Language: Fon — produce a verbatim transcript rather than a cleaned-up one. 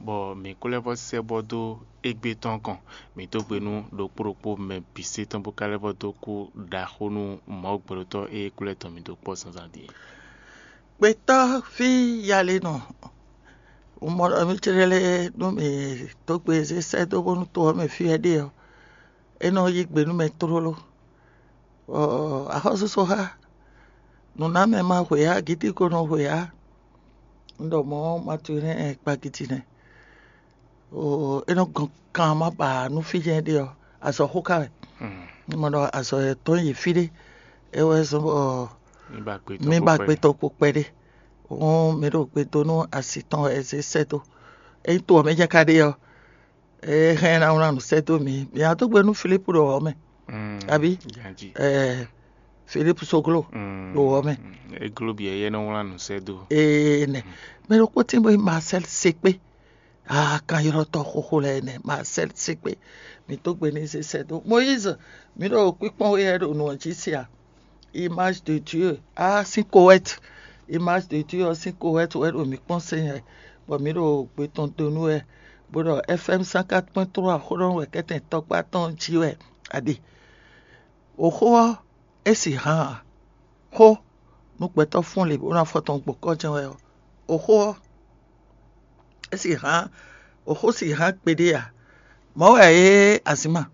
bɔ mǐ kó lɛ́ vɔ́ sɛ́ bɔ dó égbé tɔn kɔn. Mǐ dó gbe nú ɖokpó ɖokpó mɛ bǐ sé tɔn bó ka lɛ́ vɔ́ dó kú ɖaxó nú Mawu gbɛɖotɔ́ e kú lɛ́ tɔn mǐ dó kpɔ́ zǎnzǎn din. Gbɛtɔ́ví yalenɔ, un mɔ ɖɔ mì céɖélé nú mì dó gbe zé sɛ́ dó bónú to ɔ́ mɛ fí wɛ ɖe ɔ́, é nɔ yí gbe nú mɛ tlóló. Axɔ́súsɔ́ xá nǔnámɛ ma hwe ǎ, gǐtíko nɔ hwe ǎ. Un ɖɔ mɔ̌, Maturin kpagidi nɛ́. É nɔ gɔn kan ma ba nú fí jɛ́n ɖe ɔ́, azɔ̌ xó ka wɛ. Mɔ ɖɔ azɔ̌ yɛtɔn yi fí ɖé, é wɛ zɔ́n bɔ mì ba gbetɔ́ kpo kpɛɖé. Hɔn mǐ ɖo gbe dó nú asi tɔn wɛ é zé sɛ́ dó. Ényí to ɔ́ mɛ jɛ́n ka ɖe ɔ́, é hɛn ná wlán nǔ sɛ́ dó mǐ. Mǐ wá dó gbe nú Filípu ɖo wɔ̌ mɛ, abí? Filípu Soglo ɖo wɔ̌ mɛ. Égló bǐ ɛyɛ́ nɔ wlán nǔ sɛ́ dó. Ee nɛ. Mɛ ɖokpó tín bɔ é Marcel Sekpé. Aa, kan ylɔ́ tɔ́ xóxó lɛ́ɛ nɛ́, Marcel Sekpé. Mǐ dó gbe n'i zé sɛ́ dó. Moyíze, mǐ ɖo kpíkpɔ́n we wɛ ɖo nǔ ɔ́ jí se a? Image de Dieu, a sín kowɛt. Image de Dieu ɔ́ sín kowɛt wɛ ɖo mǐ kpɔ́n se nyɛ, bɔ mǐ ɖo gbe tɔn do nú wɛ, bó ɖɔ F M cent quatre point trois xó ɖɔ wɛ kɛ́tɛn tɔkpá tɔn jí wɛ a ɖe. Oxó ɔ́, é sì hán a? Xó nú gbɛtɔ́ fún lě bó ná fɔ tɔn gbɔn kɔ́ jɛ́n wɛ ɔ́, oxó ɔ́, é sì hán, oxó sì hán kpeɖé a? Mɔ̌ wɛ é azǐnma.